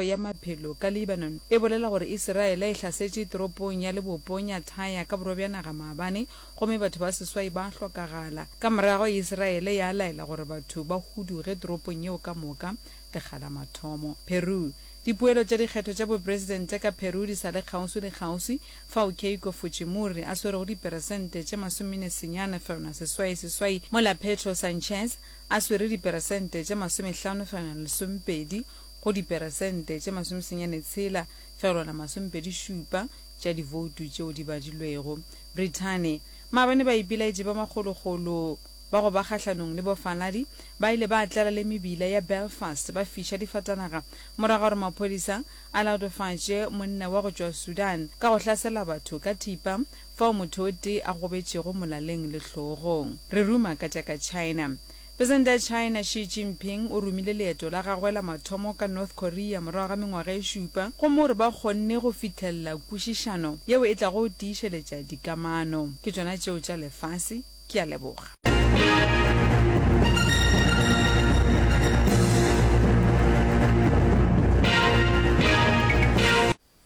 Ya Maphelo ka Lebanon e bolela gore Isiraele e hlasetše toropong ya lebopong ya Tyre ka borwa bja naga maabane gomme batho ba seswai ba hlokagala. Ka morago Isiraele ya laela gore batho ba huduge toropong yeo ka moka lekga la mathomo. Peru, Dipoelo tša dikgetho tša bopresidente ka Peru di sa le kgauswi le kgauswi, fao Keiko Fujimori a swerego diperesente tše masomenesenyane fegelwana seswai seswai mola Pedro Sanchez a swere diperesente tše masomehlano fegelwana lesomepedi go diperesente tše masomesenyane tshela fegelwana masomepedi šupa tša divoutu tšeo di badilwego. Brithani, Maabane baipelaetši ba makgolokgolo ba go ba kgahlanong le bofaladi ba ile ba tlala le mebila ya Belfast ba fiša difatanaga morago ga gore maphodisa a latofatše monna wa go tšwa Sudan ka go hlasela batho ka thipa fao motho o tee a gobetšego molaleng le hlogong. Re ruma ka tša ka China. Presidente ya China Xi Jinping o romile leeto la gagwe la mathomo ka North Korea morago ga mengwaga e šupa gomme o re ba kgonne go fihlelela kwešišano yeo e tlago tiišeletša dikamano. Ke tšona tšeo tša lefase. Ke a leboga.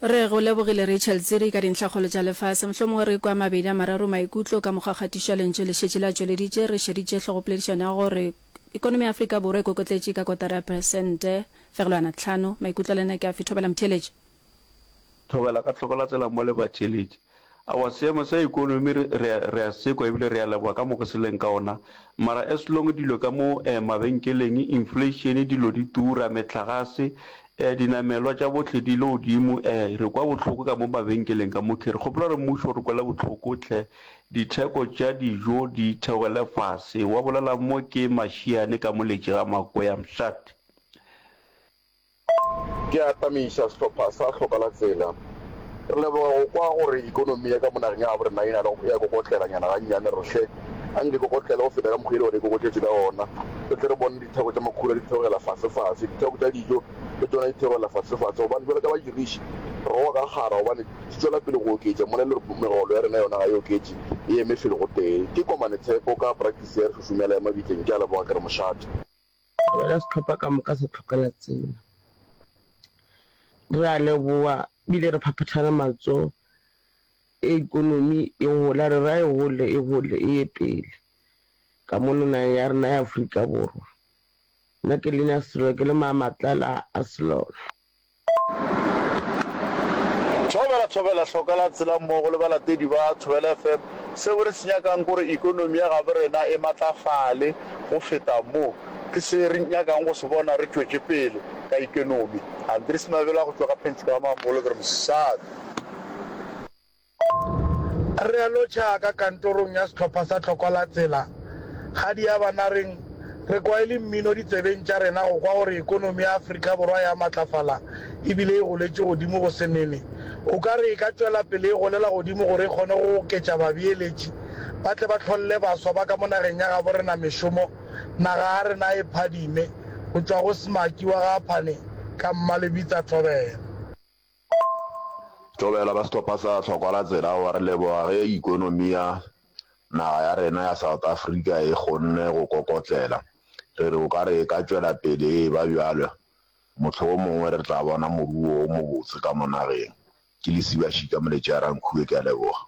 Re go lebogile Rachel Tsiri ka dintlhakgolo tša lefase. Mohlomongwe re kwa mabedi a mararo maikutlo ka mokgwa kgatišo ya lentšu le šetše le a tšweleditše. Re šeditše hlogopoledišano ya gore ekonomi ya Afrika Borwa e kokotletše ka kotara ya peresente fegelwana tlhano. Maikutlo a lena ke afe? Thobela motheeletši. Thobela ka tlhoko la tsela mo le batheeletši. Aowa seemo sa ekonomi re, re, re a se kwa ebile re a leboga ka mo go se leng ka ona. Mara as long dilo ka mo eh, mabenkeleng, inflation, dilo di tura, mehlagase, eh, dinamelwa tša bohle di ile godimo, eh, re kwa bohloko ka mo mabenkeleng ka mo. Re kgopela gore mmušo o re kwele bohloko hle, ditheko tša dijo di theogele fase. Wa bolela mo ke Mashiane ka Moletši ga Makoya Mshat. Ke atamiša sehlopha sa Hloka la Tsela. Re leboga go kwa gore ikonomi ya ka mo nageng ya gabo rena e na le e a kokotlelanyana gannyane. Re hle a nke e kokotlele go feta ka mokgwa e le gore e kokotletše ka gona. Re tle re bone ditheko tša makhura di theogela fasefase, ditheko tša dijo le tšona di theogela fasefase gobane bjalo ka badiriši re goga ka kgara gobane di tšwela pele go oketša mola e le gore megolo ya rena yona ga e oketše, e eme felo gotee. Ke Komane Tshepo ka Practice ya Re Šošomela ya Mabitleng. Ke a leboga ke re mošate. Wena sehlopha ka moka sa tlogela tsela. Re a leboga ebile re phaphathana matsogo ekonomi e gola re ra e gole e gole e ye pele ka mono nageng ya rena ya Afrika Borwa. Nna ke Lina Sello ke le Mamatlala a Selolo. Thobela Thobela Hloka la tsela mmogo le balatedi ba Thobela FM. Seo re se nyakang ke gore ikonomi ya gabo rena e matlafale go feta mo. Ke se re nyakang go se bona re tšwetše pele ka ikonomi. Andries Mabela go tšwa ka Pentjho ga Mamolo ke re mosadi. Re a lotšha ka kantorong ya sehlopha sa Tlhokwa la Tsela. Gadiabanareng, re kwa e le mmino ditsebeng tša rena go kwa gore ekonomi ya Afrika Borwa ya matlafala e bile e goletše godimo go se nene. O ka re e ka tšwela pele e golela godimo gore e kgone go oketša babeeletši ba tle ba hlolle baswa ba ka mo nageng ya gabo rena mešomo, naga ya rena e phadime. Go tšwa go Smaki wa ga Aphane ka Mmalebitsa Thobela. Thobela ba sehlopha sa Tlhokwa la Tsela wa re leboga ge ikonomi ya naga ya rena ya South Africa e kgonne go kokotlela. Re re o ka re e ka tšwela pele e eba bjalo, mohlomongwe re tla bona moruo o mobotse ka mo nageng. Ke Lesiba Šika Moletši a Rankhuwe, ke a leboga.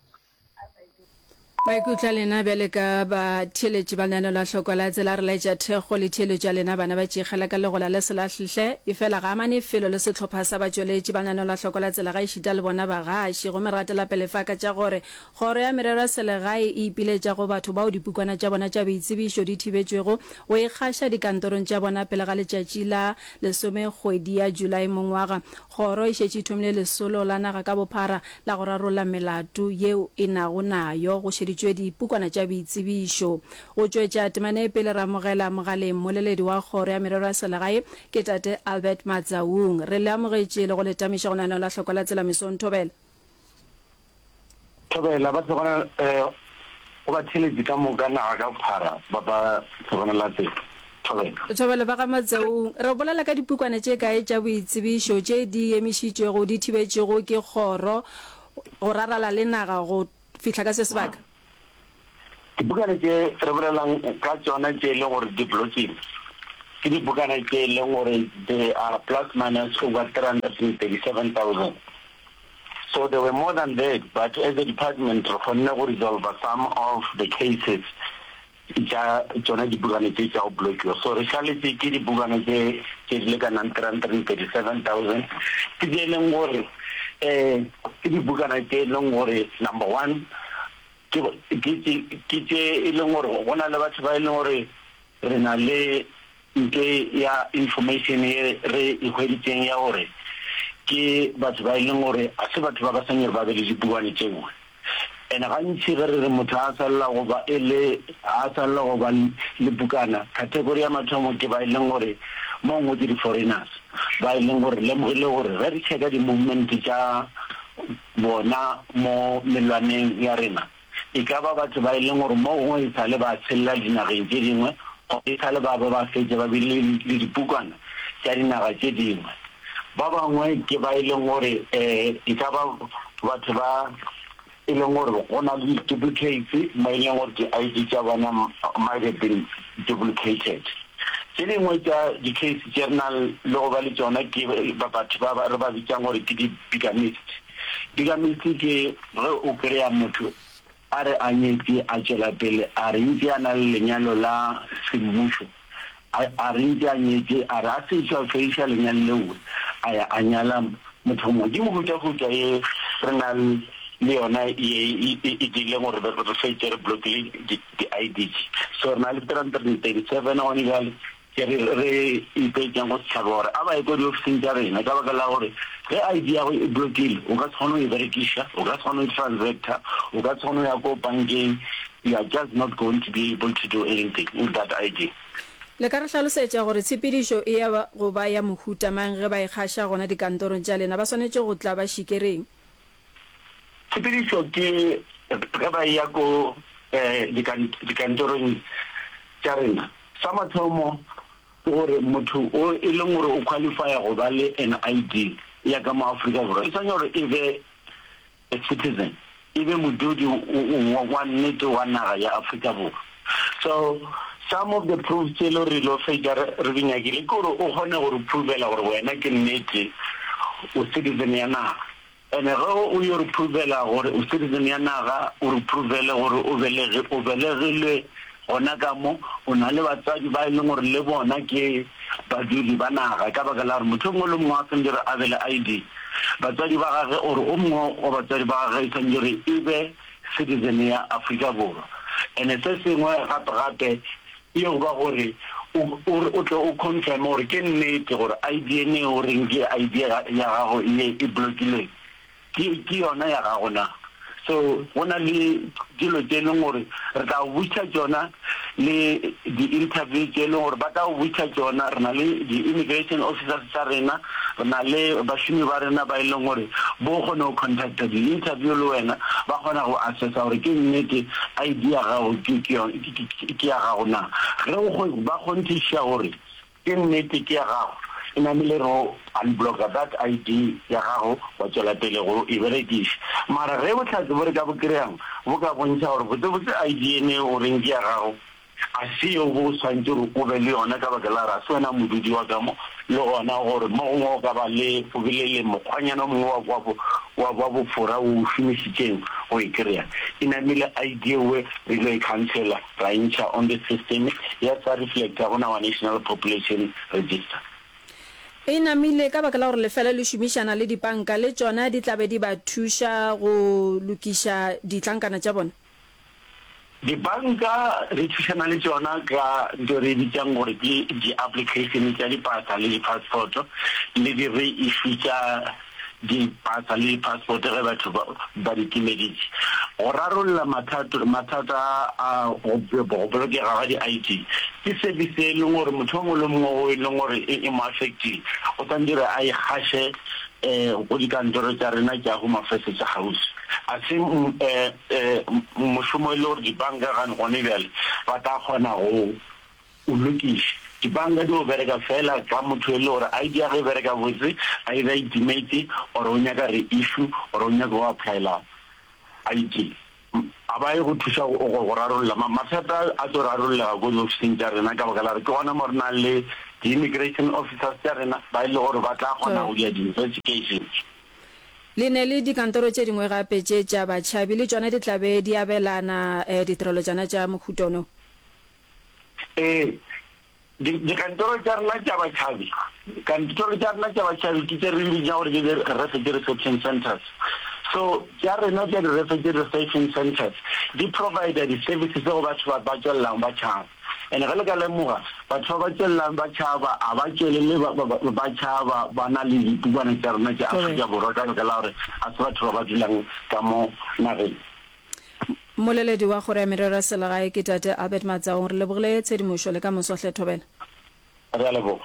Maikutlo a lena bjale ka batheeletši ba lenaneo la Hlokwa la Tsela re laetša thekgo le theeletšo ya lena bana ba Tšikgela ka legola le selahlhle efela ga amane felo le sehlopha sa batšweletši ba lenaneo la Hlokwa la Tsela ga ešita le bona bagaši gomme re gatela pele fa ka tša gore Kgoro ya Merero ya Selegae e ipiletša go batho bao dipukwana tša bona tša boitsebišo di thibetšwego go ikgaša dikantorong tša bona pele ga letšatši la lesome kgwedi ya Julae mongwaga Kgoro e šetše e thomile lesolo la naga ka bophara la go rarolla melato yeo e nago nayo go šeditšwe dipukwana tša boitsebišo. Go tšwetša temana ye pele re amogela mogaleng mmoleledi wa Kgoro ya Merero ya Selegae ke Tate Albert Matsaung. Re le amogetše le go le tamiša go lenaneo la Hlokwa la Tsela mesong. Thobela. Thobela, ba tlogela go batheeletši ka moka naga ka bophara ba ba tlogela tsela. Thobela. Thobela, ba ga Matsaung, re bolela ka dipukwana tše kae tša boitsebišo tše di emišitšwego, di thibetšwego ke kgoro go rarala le naga go fihla ka se sebaka? Dipukana tše re bolelang ka tšona tše e leng gore di blokilwe. Ke dibukana tše e leng gore they are plus minus over 337,000. So there were more than that, but as a department re kgonne go resolver some of the cases tša tšona dibukana tše tša go blockiwa. So re šaletše ke dibukana tše tše di lekanang 337,000. Ke tše e leng gore um ke dibukana tše e leng gore number one ke ke ke tše e leng gore go na le batho ba e leng gore Re na le nto ya information ye re e hweditšeng ya gore ke batho ba e leng gore a se batho ba ba sa nyore ba be le dipuane tšeoe. And gantši ge re re motho a swalela go ba e le a swalela go ba le pukana, category ya mathomo ke ba e leng gore mo gongwe ke di-foreigners ba e leng gore re lemogile gore ge re checka di-movement tša bona mo mellwaneng ya rena, E ka ba batho ba e leng gore mo gongwe e sa le ba tshelela dinageng tše dingwe goba e sa le ba ba ba fetša ba bile le dipukwana tša dinaga tše dingwe. Ba bangwe ke ba e leng gore e ka ba batho ba e leng gore go na le di-duplicates mo e leng gore di-I_D tša bona might have been duplicated. Tše dingwe tša di-case tše re nang le go ba le tšona ke batho ba re ba bitsang gore ke di-bigamist. Bigamist ke ge o kry-a motho a re a nyetše a tšwela pele a re ntše a na le lenyalo la semmušo, a a re ntše a nyetše a re a sešo a fediša lenyalo leo a ya a nyala motho o mongwe. Ke mehutahuta ye re nang le yona ye e dirileng gore re fetše re blockile di-I_D tše. So re na le 337 gone bjale. Ke re re ipeetšeng go setšhaba gore a ba ye ko diofising tša rena ka baka la gore ge I_D ya go e blockile o ka se kgone go e berekiša, o ka se kgone go transactor, o ka se kgone go ya ko bankeng, you are just not going to be able to do anything with that I_D. Le ka re hlalosetša gore tshepedišo e ya go ba ya mohuta mang ge ba ikgaša gona dikantorong tša lena? Ba swanetše go tla ba šikereng? Tshepedišo ke ge ba eya ko dikantorong tša rena. Sa mathomo ke gore motho o e leng gore o qualifya go ba le an I_D ya ka mo Afrika Borwa e swanetše gore e be a citizen, e be modudi wa nnete wa naga ya Afrika Borwa. So some of the proofs tše e le gore re lo fetša re di nyakile ke gore o kgone go re provela gore wena ke nnete o citizen ya naga. Ene ge o yo re provela gore o citizen ya naga, o re provele gore o belege, o belegilwe gona ka mo, o na le batswadi ba e leng gore le bona ke badudi ba naga, ka baka la gore motho o mongwe le o mongwe a swanetše gore a be le ID. Batswadi ba gage or o mongwe wa batswadi ba gage e swanetše gore e be citizen ya Afrika Borwa. Ene se sengwe gape gape E go ba gore o, o, o tle o confirme gore ke nnete gore ID ene o reng ke ID ya gago ye e blockilweng, ke, ke yona ya gago na. So go na le dilo tše e leng gore re tla go botšiša tšona le di-interview tše e leng gore ba tla go botšiša tšona. Re na le di-immigration officers tša rena, re na le bašomi ba rena ba e leng gore bo kgone go contacta di-interview le wena, ba kgona go assessa gore ke nnete ID ya gago ke, ke yona. Ke ya gago na? Ge o ba kgonthišiša gore ke nnete ke ya gago, e namile re go unblocka that ID ya gago wa tšwela pele go e berekiša. Mara ge bohlatse bo re ka bo kry-ang bo ka bontšha gore botsebotse ID ene o reng ke ya gago a se yeo bo o swanetše gore o be le yona ka baka la gore a se wena modudi wa ka mo, le gona gore mo gongwe o ka ba le o bile le mokgwanyana o mongwe wa, wa, wa, wa bofora wo o šomišitšeng go e kry-a. E namile ID ewe re ile e khansela ra e ntšha on the system ya sa reflecta go our national population register. E namile ka baka la gore lefela le šomišana le dipanka le tšona di tla be di ba thuša go lokiša ditlankana tša bona. Dibanka re thušana le tšona ka nto re e bitšang gore ke di-application tša dipasa le di-passport le di-reissue tša dipasa le di-passport ge batho ba, ba di timeditše. Go rarolla mathato, mathata a go, go bolokega ga di-I_D ke service e leng gore motho o mongwe le mongwe o e leng gore e, e mo affectile o swanetše gore a e gaše um go dikantoro tša rena tša Home Affairs tša kgauswi. A se um mošomo e le gore dibanka gane gone bjale ba tla kgona go o lokiša. Dibanka di o bereka fela ka motho e le gore I_D ya gagwe e bereka botse, either e timetše or o nyaka re-issue or o nyaka go applyela I_D. A ba ye go thuša go rarolla mathata a tlo rarollega ko diofising tša rena ka baka la gore ke gona mo re nang le. Di-immigration officers tša rena ba e le gore ba tla kgona go dira di-investigations. Le ne le dikantoro tše dingwe gape tše tša batšhabi le tšona di tla be di abelana ditirelo tšona tša mohuta ono. Ee, di, dikantoro tša rena tša batšhabi, kantoro tša rena tša batšhabi ke tše re di bitšang gore ke di-refugee reception centres. So tša rena tša di-refugee reception centres di provider di-services go batho ba ba tšwelelang ba tšhaba. And ge le ka lemoga, batho ba ba tšwelelang ba tšhaba ga ba tšwelele ba, ba, ba, ba tšhaba ba na le dipukwana tša rena tša Afrika Borwa ka baka la gore ga se batho ba ba dulang ka mo nageng. Mmoleledi wa Kgoro ya Merero ya Selegae ke Tate Albert Matsaong. Re lebogile tshedimošo le ka moso hle Thobela. Re a leboga.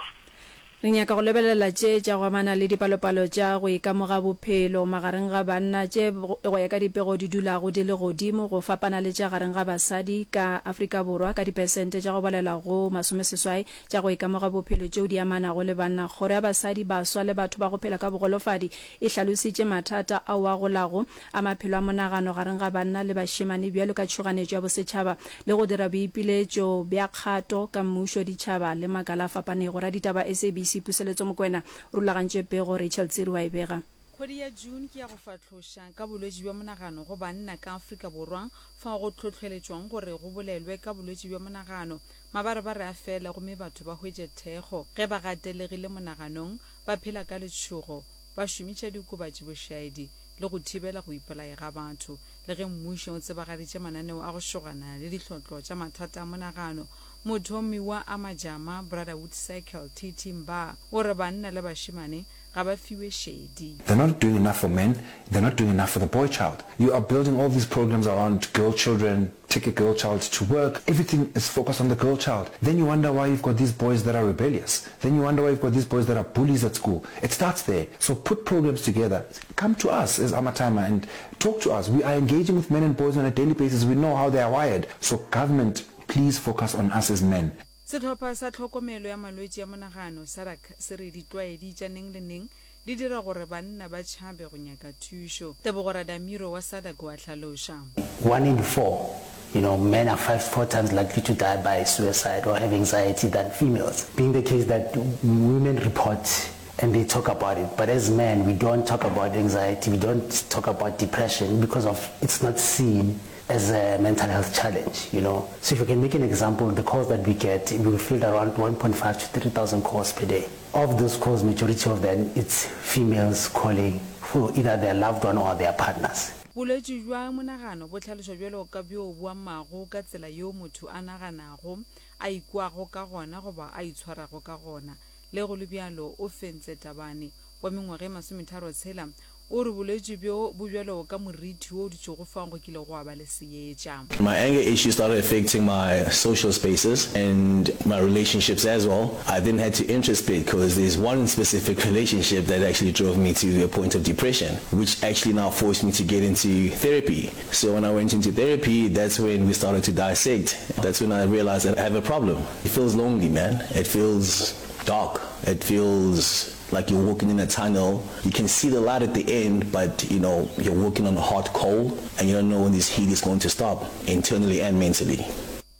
Re nyaka go lebelela tše tša go amana le dipalopalo tša go ikamoga bophelo magareng ga banna tše go ya ka dipego di dulago di le godimo go fapana le tša gareng ga basadi ka Afrika Borwa ka dipersente tša go balelwa go masomeseswai tša go ikamoga bophelo tšeo di amanago le banna. Kgoro ya Basadi, Baswa le Batho ba go Phela ka Bogolofadi e hlalositše mathata ao a golago a maphelo a monagano gareng ga banna le bašemane bjalo ka tšhoganetšo ya bosetšhaba le go dira boipiletšo bja kgato ka mmušo, ditšhaba le makala a fapanego. Raditaba SABC Puseletso Mokoena o rulagantše pego, Rachel Tsiri wa e bega. Kgwedi ya June ke ya go fahloša ka bolwetši bja monagano go banna ka Afrika Borwa, fao go hlohleletšwang gore go bolelwe ka bolwetši bja monagano. Mabarebare a fele gomme batho ba hwetše thekgo ge ba gatelegile monaganong, ba phela ka letšhogo, ba šomiša diokobatši bošaedi le go thibela go ipolaya ga batho. Le ge mmušo o tsebagaditše mananeo a go šogana le dihlotlo tša mathata a monagano, mothomi wa Amajama Brotherhood Circle, TT Mbaa, o re banna le bašemane ga ba fiwe šedi. They're not doing enough for men, they're not doing enough for the boy child. You are building all these programs around girl children, take a girl child to work, everything is focused on the girl child. Then you wonder why you've got these boys that are rebellious. Then you wonder why you've got these boys that are bullies at school. It starts there. So put programs together. Come to us as Amathama and talk to us. We are engaging with men and boys on a daily basis. We know how they are wired. So government, please focus on us as men. Sehlopha sa Tlhokomelo ya Malwetši a Monagano, SADAG, se re ditlwaedi tša neng le neng di dira gore banna ba tšhabe go nyaka thušo. Tebogo Radamiro wa SADAG o a hlaloša. One in four, you know, men are five, four times likely to die by suicide or have anxiety than females. Being the case that women report and they talk about it, but as men we don't talk about anxiety, we don't talk about depression because of it's not seen as a mental health challenge, you know. So if we can make an example, the calls that we get, we field around 1.5 to 3,000 calls per day. Of those calls, majority of them, it's females calling for either their loved one or their partners. Bolwetši bja monagano bo hlalošwa bjalo ka bjo bo amago ka tsela yeo motho a naganago, a ikwago ka gona goba a itshwarago ka gona. Le go le bjalo, Ofentse Tabane, wa mengwaga e masometharotshela, o re bolwetši bjo bo bjalo ka moriti wo o dutšego fao go kilego gwa ba le seetša. My anger issues started affecting my social spaces and my relationships as well. I then had to introspect because there's one specific relationship that actually drove me to a point of depression, which actually now forced me to get into therapy. So when I went into therapy, that's when we started to dissect. That's when I realized that I have a problem. It feels lonely, man. It feels dark. It feels like you're walking in a tunnel. You can see the light at the end, but you know, you're walking on hot coal and you don't know when this heat is going to stop, internally and mentally.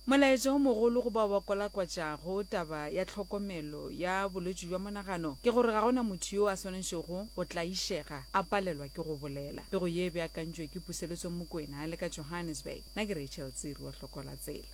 Molaetša o mogolo go bao ba kwalakwatšago taba ya tlhokomelo ya bolwetši bja monagano ke gore ga go na motho yo a swanetšego go tlaišega a palelwa ke go bolela. Pego ye e beakantšwe ke Puseletso Mokwena a le ka Johannesburg. Nna ke Rachel Tsiri wa Hloko la Tsela.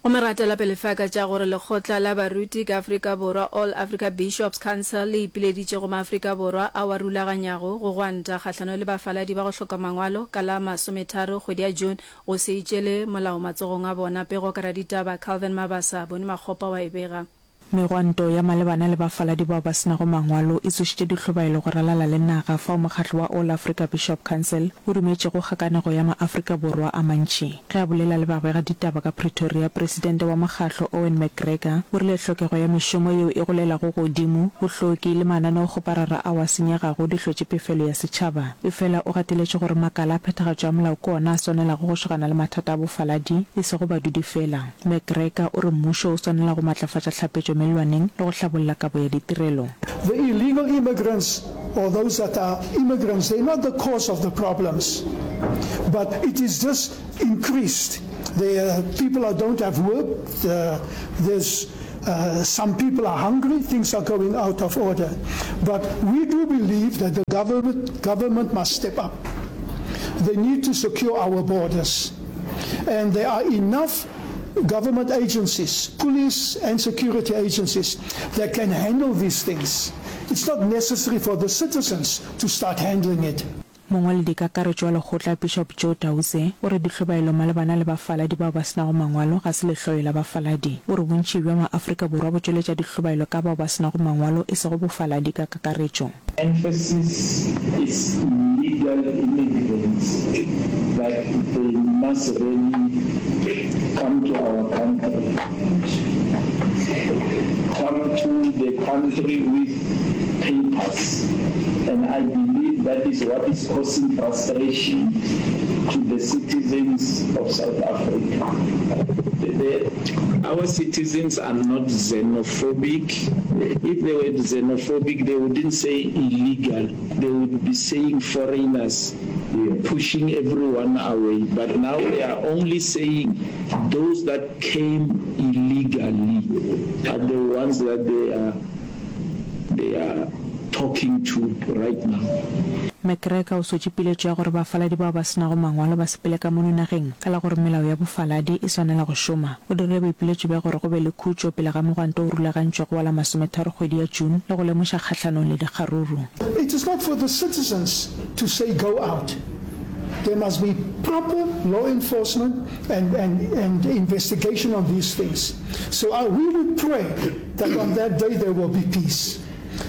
Gomme ra tšwela pele fa ka tša gore lekgotla la baruti ka Afrika Borwa, All Africa Bishops Council, le ipileditše go maAfrika Borwa ao a rulaganyago go gwanta kgahlano le bafaladi ba go hloka mangwalo ka la masometharo kgwedi ya June go se itšele molao matsogong a bona. Pego ka raditaba Calvin Mabasa, Boni Makgopa wa e bega. Megwanto ya malebana le bafaladi bao ba se nago mangwalo e tsošitše dihlobaelo go ralala le naga fao mokgatlo wa All Africa Bishop Council o dumetšego kgakanego ya maAfrika Borwa a mantši. Ge a bolela le babegaditaba ka Pretoria, presidente wa mokgatlo Owen McGregor o rile hlokego ya mešomo yeo e golelago godimo, bohloki le mananeokgoparara ao a senyegago di hlotše pefelo ya setšhaba. Efela o gateletše gore makala a phethagatšo ya molao ke ona a swanelago go šogana le mathata a bofaladi e sego badudi fela. McGregor o re mmušo o swanela go matlafatša hlapetšo mellwaneng le go hlabolla kabo ya ditirelo. The illegal immigrants or those that are immigrants, they're not the cause of the problems, but it is just increased. There are people that don't have work, there's. Uh, some people are hungry, things are going out of order. But we do believe that the government, government must step up. They need to secure our borders. And there are enough government agencies, police and security agencies that can handle these things. It's not necessary for the citizens to start handling it. Mongwaledikakaretšo wa lekgotla Bishop Joe Tause o re dihlobaelo malebana le bafaladi bao ba se nago mangwalo ga se lehloyo la bafaladi. O re bontši bja maAfrika Borwa bo tšweletša dihlobaelo ka bao ba se nago mangwalo e sego bofaladi ka kakaretšo. Emphasis is illegal immigrants that they must really come to our country, come to the country with papers and I believe that is what is causing frustration to the citizens of South Africa. The, our citizens are not xenophobic. If they were xenophobic, they wouldn't say illegal. They would be saying foreigners, pushing everyone away. But now they are only saying those that came illegally are the ones that they are they are talking to right now. McGregor o sotše piletšo ya gore bafaladi bao ba se nago mangwalo ba sepele ka mono nageng ka la gore melao ya bofaladi e swanela go šoma. O dirile boipiletšo bja gore go be le khutšo pele ga mogwanto o rulagantšwego wa la masometharo kgwedi ya June le go lemoša kgahlanong le dikgaruru. It is not for the citizens to say go out. There must be proper law enforcement and, and, and investigation on these things. So I, we would pray that on that day there will be peace.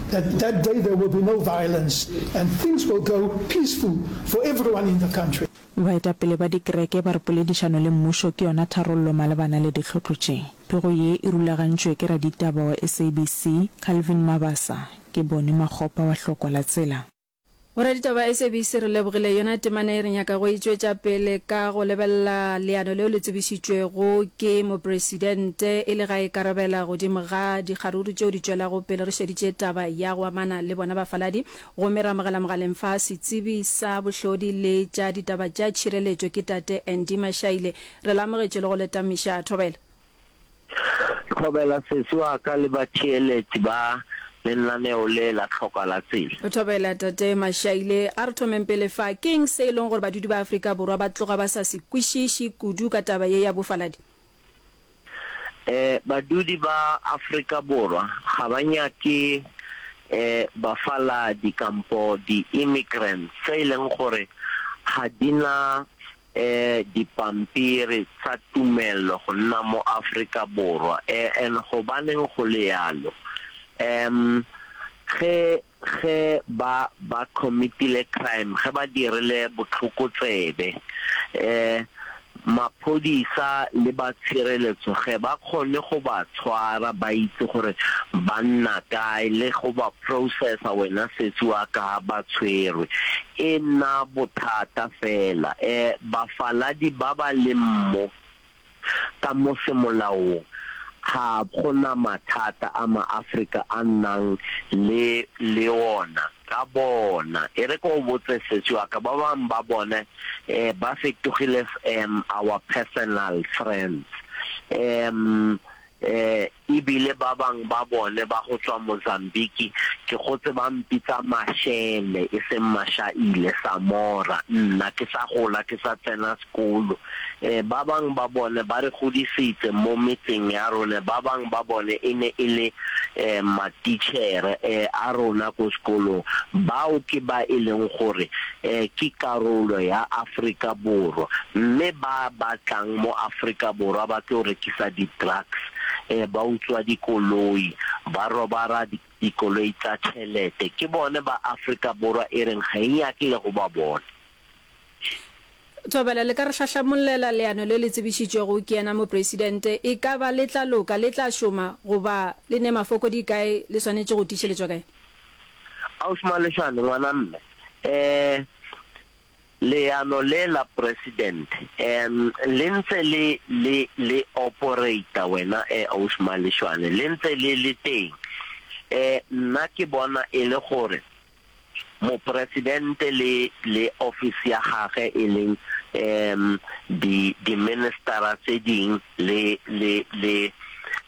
That that day there will be no violence and things will go peaceful for everyone in the country. Baetapele ba dikereke ba re poledišano le mmušo ke yona tharollo malebana le dihlotlo tše. Pego ye e rulagantšwe ke raditaba wa SABC, Calvin Mabasa, ke Boni Makgopa wa Hlokwa la Tsela. Boraditaba ba SABC re lebogile yona temana ye re nyaka go e tšwetša pele ka go lebelela leano leo le tsebišitšwego ke Mopresidente e le ga e karabela godimo ga dikgaruru tšeo di tšwelago pele re šeditše taba ya go amana le bona bafaladi gomme re amogela mogaleng fa setsebi sa bohlodi le tša ditaba tša tšhireletšo ke tate Andy Mashaile re le amogetše le go le tamiša thobela. Thobela sesi wa ka le batheeletši ba lenaneo le la Tlhoka la Tsela. Thobela Tate Mashaile, a re thomeng pele fa, ke eng se e leng gore badudi ba Afrika Borwa ba tloga ba sa se kwešiše kudu ka taba ye ya bofaladi? Eh, badudi ba Afrika Borwa ga ba nyake eh bafaladi kampo di-immigrants tse e leng gore ga di na E dipampiri tsa tumello go nna mo Afrika Borwa. E and gobaneng go le yalo? Um ge ge ba ba committile crime, ge ba dirile botlhokotsebe, e maphodisa le ba tshireletso ge ba kgone go ba tshwara, ba itse gore ba nna kae le go ba processa wena sesi wa ka ha ba tshwerwe. E nna bothata fela. E, bafaladi ba ba leng mo, ka mo semolaong, ga go na mathata a Maafrika a nnang le, le ona ka bona. E re ke go botse sesi wa ka, ba bangwe ba bone, e, ba fetogile, um, our personal friends. Um, E, e bile ba bang ba bone ba go tswa Mozambique, ke gotse ba mpitsa Mashele e seng Mashaile, Samora, nna ke sa gola ke sa tsena sekolo. E, ba bang ba bone ba re godisitse mo metseng ya rone, ba bang ba bone e ne e le e, matitjhere e, a rona ko sekolong. Bao ke ba e leng gore e, ke karolo ya Afrika Borwa, mme ba ba tlang mo Afrika Borwa ba tlo rekisa di-drugs, e, ba utswa dikoloi, ba robara dikoloi tsa tšhelete, ke bone ba Afrika Borwa e reng ga e nyake le go ba bona. Thobela, le ka re hlahlamollela leano le le tsebišitšwego ke yena Mopresidente? E ka ba le tla loka, le tla šoma, goba le ne mafokodi kae, le swanetše go tiišeletšwa kae? Ausi Maleshane, ngwana mme, eh, leano le la President, em, le ntse le, le, le operata wena, eh, Ausi Maleshwane, le ntse le le teng. Eh, nna ke bona e le gore Mopresidente le, le office ya gage e leng, em, di, di-ministera tse ding le, le, le.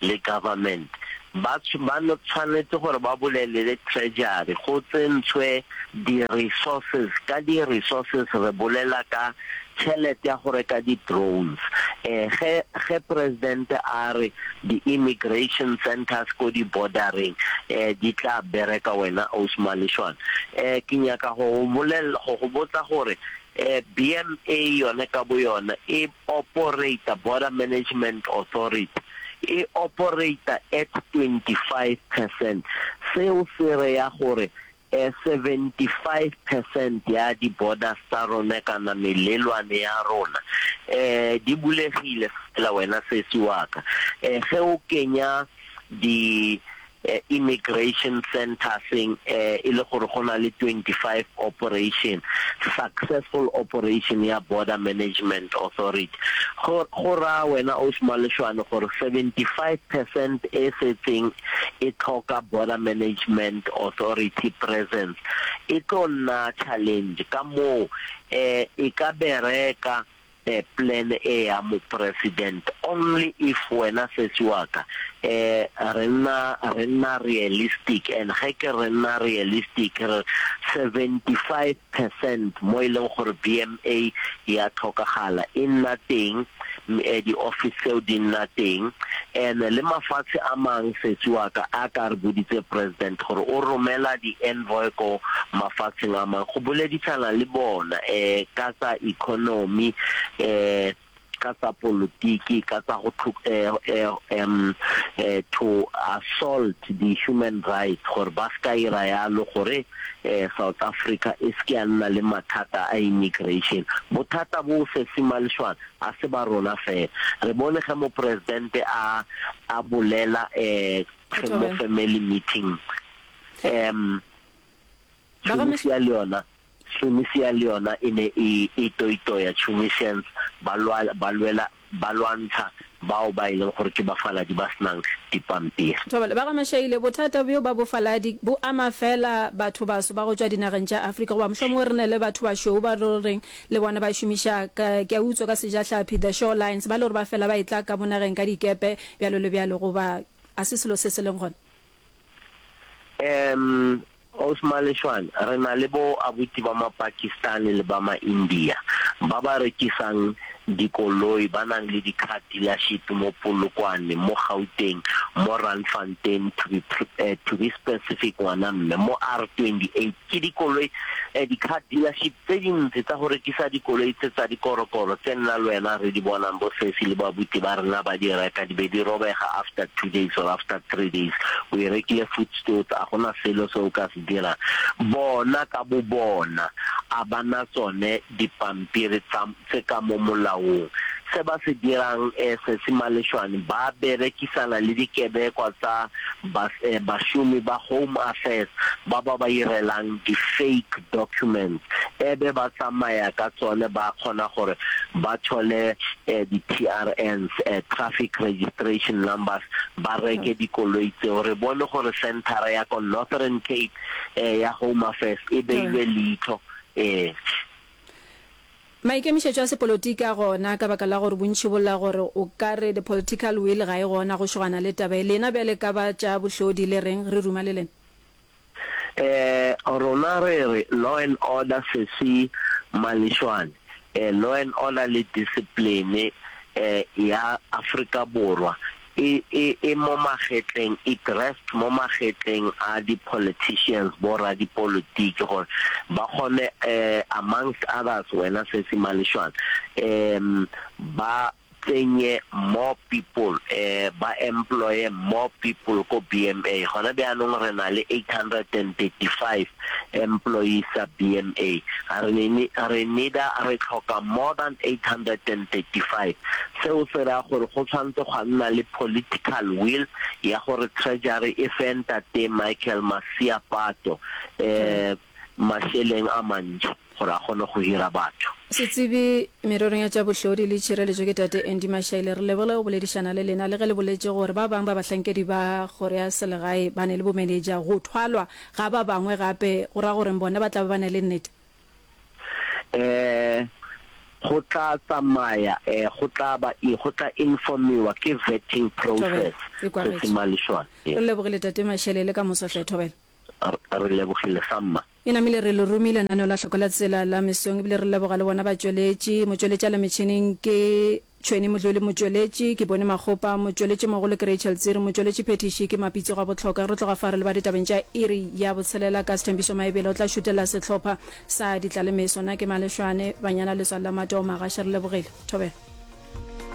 le government ba ba tshwanetse gore ba bolele le treasury go tsentshwe di resources ka di resources re bolela ka tšhelete ya go reka di drones eh ge ge president a re di immigration centers ko di bordereng eh di tla bereka wena Ausi Maleshwane eh ke nyaka go go bolella go go botsa gore eh BMA yone ka bo yona e operate Border Management Authority e operate at 25 percent seo se reya gore 75 percent ya di borders tsa rona kana melelwane ya rona di bulegile fela wena sesi wa ka. Ge o kenya di immigration centers e le gore go na le 25 operation, successful operation ya Border Management Authority, go go raya wena Ausi Maleshwane gore 75 percent e setseng e tlhoka Border Management Authority presence, e tlo nna challenge. Ka moo e ka bereka plan e ya Mopresident only if wena sesi wa ka re nna re nna realistic and ge ke re nna realistic re 75 percent mo e leng gore BMA ya tlhokagala e nna teng di-office tseo di nna teng and le mafatshe a mang sesi wa ka a ka re boditse president gore o romela di-envoy ko mafatsheng a mang go boledisana le bona ka tsa economy ka tsa polotiki ka tsa go to assault di-human rights gore ba se ka ira yalo gore South Africa e se ke ya nna le mathata a immigration. Bothata bo Sesi Maleshwane a se ba rona fela. Re bone ge mopresidente a a bolela mo family meeting um Tunisia le yona Tunisia le yona e ne e e toitoya Tunisians ba lwa ba lwela ba lwantsha bao ba e leng gore ke bafaladi ba se nang dipampiri. Thobela, Ba ga Mashaile, bothata bjo ba bofaladi bo ama feela batho baso ba go tšwa dinageng tša Afrika goba mohlomongwe re ne le batho bašweu ba re reng le bona ba šomiša ka, ke a utswa ka sejahlapi, the shorelines, ba le gore ba fela ba etla ka mo nageng ka dikepe bjalo le bjalo goba a se selo se se leng gona? Um Ausi Maleshwane, re na le bo abuti ba Mapakistani le ba Maindia ba ba rekisang dikoloi ba nang le di-car dealership mo Polokwane, mo Gauteng, mo Randfontein to be, to be specific ngwana mme, mo R28. Ke dikoloi, di-car dealership tse dintsi tsa go rekisa dikoloi tse tsa dikorokoro tse nna le wena re di bonang bo sesi le babuti ba rena ba di reka di be di robega after two days or after three days. O e rekile voetstoots a gona selo se o ka se dirang. Bona ka bo bona a ba na tsone dipampiri tsa tse ka mo molaong. Se ba se dirang Sesi Maleshwane ba berekisana le dikebekwa tsa bašomi ba Home Affairs ba ba ba irelang di fake documents ebe ba tsamaya ka tsone ba kgona gore ba thole di TRNs, traffic registration numbers, ba reke dikoloi tseo. Re bone gore centre ya ko Northern Cape ya Home Affairs e beilwe leihlo. Ee. Maikemišetšo a sepolotiki a gona ka baka la gore bontši bo lla gore o ka re the political will ga e gona go šogana le taba ye. Lena bjale ka ba tša bohlodi le reng? Re ruma le lena. Eh, rona re re law and order sesi Maleshwane, eh, law and order le discipline eh, ya Afrika Borwa e, e, e mo magetleng, it rests mo magetleng a di-politicians, bo radipolitiki gore ba kgone eh, amongst others wena sesi Maleshwane, um ba tsenye more people, eh, ba employe more people ko BMA. Gona bjanong re na le 835 employees tsa BMA. Re ne, re needa, re tlhoka more than 835. Seo se raya gore go tshwanetse gwa nna le political will ya gore Treasury e fe Ntate Michael Masiapato, eh, mašeleng a mantši gore a kgone go hira batho. Setsebi mererong ya tša bohlodi le tšhireletšo ke Tate Andy Mashaile. Re leboge go boledišana le lena le ge le boletše gore ba bang ba bahlankedi ba kgoro ya selegae ba ne le bomenetša. Go thwalwa ga ba bangwe gape go ra goreng bona ba tla ba ba ne le nnete? Eh. Go tla tsamaya, go tla ba, go tla informiwa ke vetting Thobela, process, e kwagetše. Sesi Maleshwane. Re lebogile Tate Mashele, le ka moso hle, Thobela. Re lebogile samma. E namile re le romile lenaneo la Hloko la Tsela la mesong ebile re leboga le bona batšweletši. Motšweletši a le metšhineng ke Tšhweni Modluli, motšweletši ke Boni Makgopa, motšweletši mogolo ke Rachel Tsiri, motšweletši phethiši ke Mapitsi Gwabohloka. Re tloga fa re leba ditabeng tša iri ya botshelela ka Sthembiso Maebela o tla šutella sehlopha sa Ditlalemeso. Nna ke Maleshwane Banyana Letswalo la Matoo Magashe re lebogile. Thobela.